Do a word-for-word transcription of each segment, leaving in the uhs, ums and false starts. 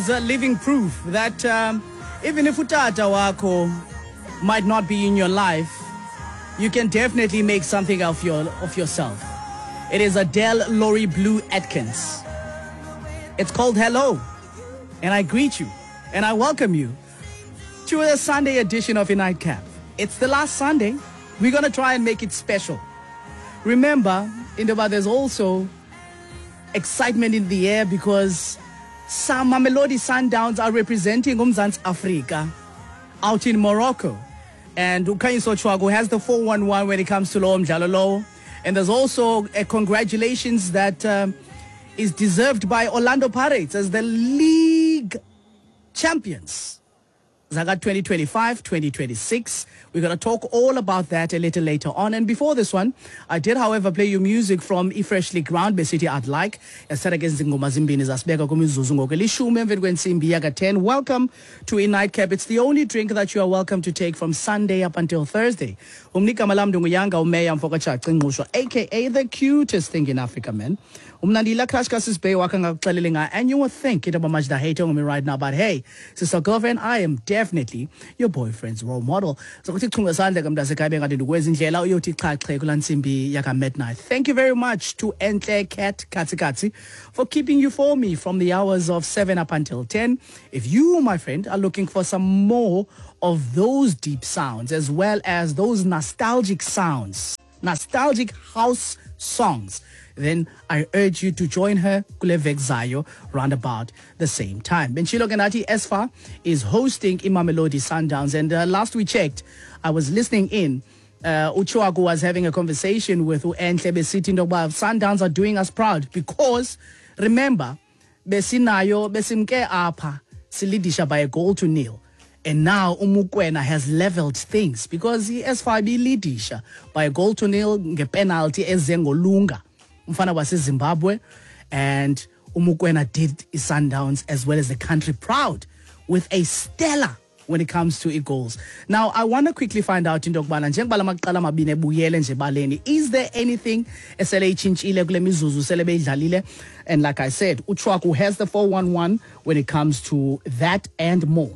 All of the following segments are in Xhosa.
is a living proof that um, even if utata wakho might not be in your life, you can definitely make something of your of yourself. It is Adele Laurie Blue Atkins. It's called Hello. And I greet you and I welcome you to the Sunday edition of A Nightcap. It's the last Sunday. We're going to try and make it special. Remember, Indaba, there's also excitement in the air because some Mamelodi Sundowns are representing uMzantsi Afrika out in Morocco. And uKhanyiso Tshwaku has the four one one when it comes to lo mdlalo lowo. And there's also a congratulations that um, is deserved by Orlando Pirates as the league champions. Zaga twenty twenty-five twenty twenty-six. We're gonna talk all about that a little later on. And before this one, I did, however, play you music from iFreshly Ground, City I'd Like. Esara ke zingoma zimbini zasibeka kumizuzu ngoku elishumi emveni kwentsimbi yaka ten. Welcome to A Nightcap. It's the only drink that you are welcome to take from Sunday up until Thursday. Umnigama lam ndinguyanga umeya mfokatshaci Ngqushwa, A K A the cutest thing in Africa, man. Umnandila crush kasisibey wakhe ngakuxelele nga, and you would think it about much the hate on me right now, but hey, sister girlfriend, I am definitely your boyfriend's role model. So kuthi chunga sandla ke mntasekhaya bengathi ndikwezi indlela uyothi xhaxhe kulaa ntsimbi yaka midnight. Thank you very much to Entle Cat Katsikatsi for keeping you for me from the hours of seven up until ten. If you, my friend, are looking for some more of those deep sounds as well as those nostalgic sounds, nostalgic house songs, then I urge you to join her kule vekzayo round about the same time. Benchilo Genati Esfa is hosting Imamelodi Sundowns, and, uh, last we checked, I was listening in. Uh, uChuaku was having a conversation with uEntle besithi into yokuba Sundowns are doing us proud because remember besinayo besimke apha silidisha by a goal to nil. And now uMukwena has leveled things because i-S five ilidisha by a goal to nil ngepenalty ezengolunga umfana waseZimbabwe, and uMukwena did Sundowns as well as the country proud with a stellar when it comes to goals. Now I want to quickly find out into yokubana njengoba la maqela amabini ebuyele nje ebaleni, is there anything esele itshintshile kule mizuzu sele beyidlalile? And like I said, uChwaku has the four one one when it comes to that and more.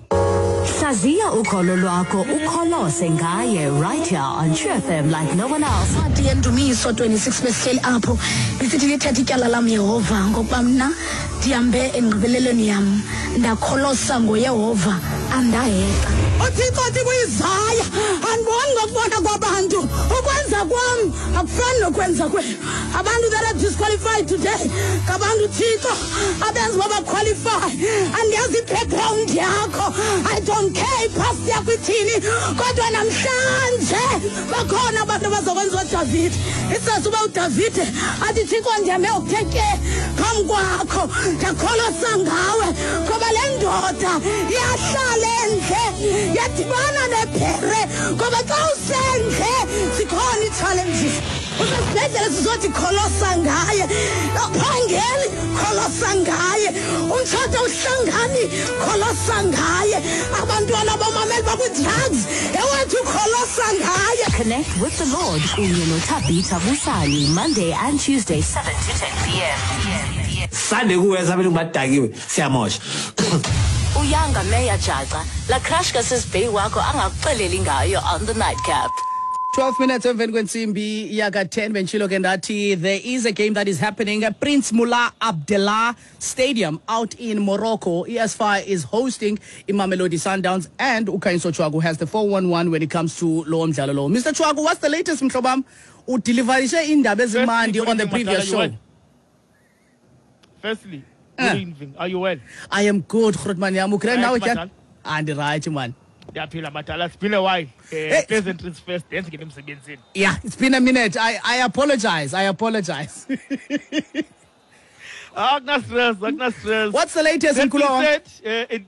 Hlaziya ukholo lwakho ukholose ngaye right here on True F M like no one else. Incwadi yeNdumiso twenty-six besihleli apho isithi lithethe ityala lam Yehova ngokuba mna ndihambe engqibelelweni yam ndakholosa ngoYehova andahexa. UThixo uthi kuIsaya andiboni ngokubona kwabantu ukwenza kwam akufani nokwenza kwenu. Abantu that are disqualified today ngabantu Thixo abenza uba baqualify. Andiyazi i-background yakho, I don't care ipast yakho ithini, kodwa namhlanje bakhona abantu abazokwenza uDavide. Isazi uba uDavide athi Thixo ndihambe ngokuthe ke phambi kwakho ndakholosa ngawe ngoba le ndoda yahlala endle yadibana nebhere ngoba xa usendle zikhona ii-challenges. Usesibhedlele sizothi kholosa ngaye, awuphangeli kholosa ngaye, umtshato awuhlangani kholosa ngaye, abantwana bomameli bakwi-drugs ewethu kholosa ngaye. Connect with the Lord kunye noThabitha Busani Monday and Tuesday seven to ten P M. Sunday kuweza abelungu badakiwe siyamosha. Uyanga Meya Jaca la crush kasisibey wakho angakuxeleli ngayo on the nightcap. twelve minutes emveni kwentsimbi yaka ten bentshilo ke ndathi there is a game that is happening at Prince Moulay Abdellah Stadium out in Morocco. E S F is hosting Imamelodi Sundowns and uKhanyiso Tshwaku has the four one one when it comes to lo mdlalo lo. Mister Tshwaku, what's the latest mhlobam? Udeliverishe indaba ezimandi on the previous show. Firstly, Uh. good evening. Are you well? I am good, Grootman. I'm okay now, Right, Jan. Madala. And right, man. Ndiyaphila madala. It's been a while. Uh, Hey. Pleasantries first, then get emsebenzini. Yeah, it's been a minute. I, I apologize. I apologize. Akuna stress, akuna stress. What's the latest in That being Kulong? said, uh, it,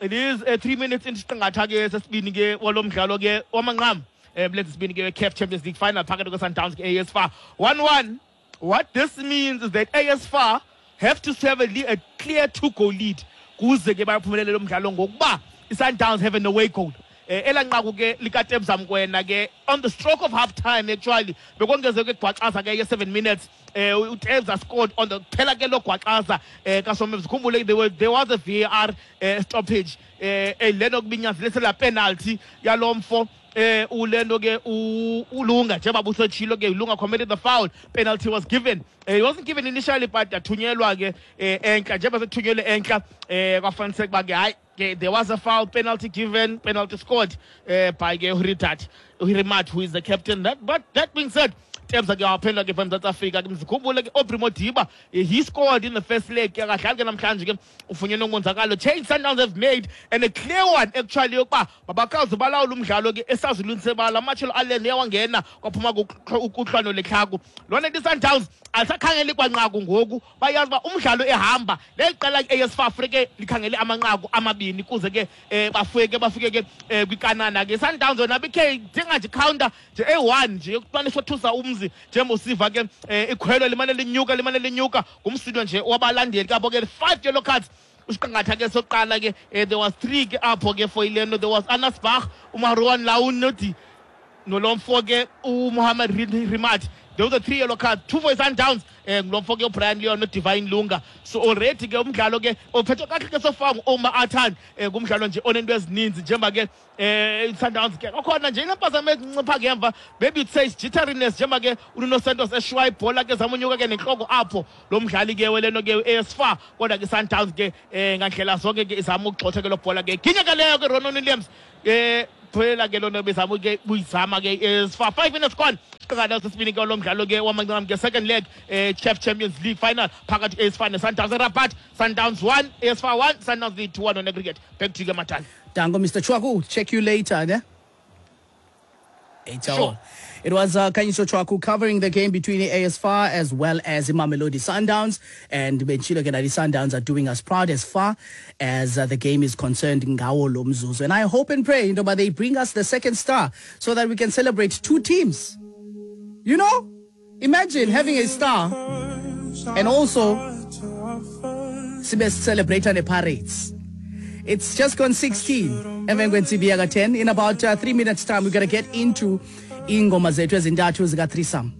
it is, uh, three minutes into isiqingatha ke sesibini ke walo mdlalo ke wamanqam. Eh, let's sibini ke C A F Champions League final phakathi kwe Sundowns ke A S F A one one. What this means is that A S F A have to have a, a clear two-goal lead kuze ke bayaphumelela lo mdlalo ngokuba i-Sundowns have an away goal. Elanqaku ke likaTebza Mkwena ke on the stroke of half time actually bekongezeke gwaqaza ke ye seven minutes, eh uTebza scored on the phela ke lo gwaqaza eh kaSomemzi. Khumbule there were there was a V A R eh, stoppage eh leno kubinyanzelisela penalty yalomfo eh ulento ke uLunga, njengoba busetshilo ke, uLunga committed the foul, penalty was given. eh, it wasn't given initially, but yathunyelwa ke eh, enhla. Njengoba sethunyelwe enhla, eh kwafaniseka uba ke hayi ke there was a foul, penalty given, penalty scored uh, by ke Huritat Hurimat, who is the captain. That but that being said, Tebza ke waphendula ke from South Africa ke. Mzikhumbule ke Aubrey Modiba, he scored in the first leg, akadlali ke namhlanje ke, ufunyenwe umonzakalo. Change Sundowns have made, and a clear one actually, yokuba mabakwazi balawula umdlalo ke esazulwini sebala. Amatshelo Allen yawangena, kwaphuma ukuhlwano lehlaku lona. I-Sundowns alisakhangeli kwanqaku ngoku, bayazi uba umdlalo ehamba leli qela i-A S FAR ke likhangele amanqaku amabini kuze ke um bafike bafike ke um kwikanana ke. Sundowns yona bikhe dinga nje counter nje eyi-one nje yokumane sothusa umzi, njengoba usiva ke um ikhwelo limane linyuka, limane linyuka, ngumsindo nje wabalandeli kapho ke. Five yellow cards usiqangatha ke sokuqala ke. eh, there was three ke apho ke for ileno. There was Anas Bach, uMaruan Launodi, nolomfo ke uMohamed Rimat. There was a three yellow cards, two for Sundowns, eh ngulomfo ke uBrian Leon noDivine Lunga. So already ke umdlalo ke ophethwe kakuhle ke so far ngu-Omar Atan. eh ngumdlalo nje onento ezininzi, njengoba ke eh Sundowns ke kwakhona nje inempazamo ezincipha ngemva, maybe you'd say jitteriness, njengoba ke uNuno Santos eshwa ibhola ke zamunyuka ke nenhloko apho lo mdlali ke weleno ke A S FAR. Kodwa ke Sundowns ke eh ngandlela zonke ke izama ukugxotha ke lo bhola ke ginye ke leyo ke Ronon Williams eh phela ke lona bezama ke buyizama ke A S FAR. Five minutes gone siqala sesibini ke lo mdlalo ke wamanqam ke second leg eh CAF Champions League final phakathi A S FAR neSundowns eRabat. Sundowns one, A S FAR one. Sundowns lead two one on aggregate. Back to you, Matani. Dango, Mister Chwaku. Check you later, ne? Eight. Sure. It was uh, Khanyiso Tshwaku covering the game between the A S FAR as well as Mamelodi Sundowns. And Benchilo Genadi, Sundowns are doing us proud as far as uh, the game is concerned. Ngawo lo mzuzu. And I hope and pray, you know, but they bring us the second star so that we can celebrate two teams. You know? Imagine having a star and also sibe celebrate the Pirates. It's just gone sixteen. Emva kwentsimbi yaka ten. In about uh, three minutes' time, we're going to get into ingoma zethu ezintathu zika threesome.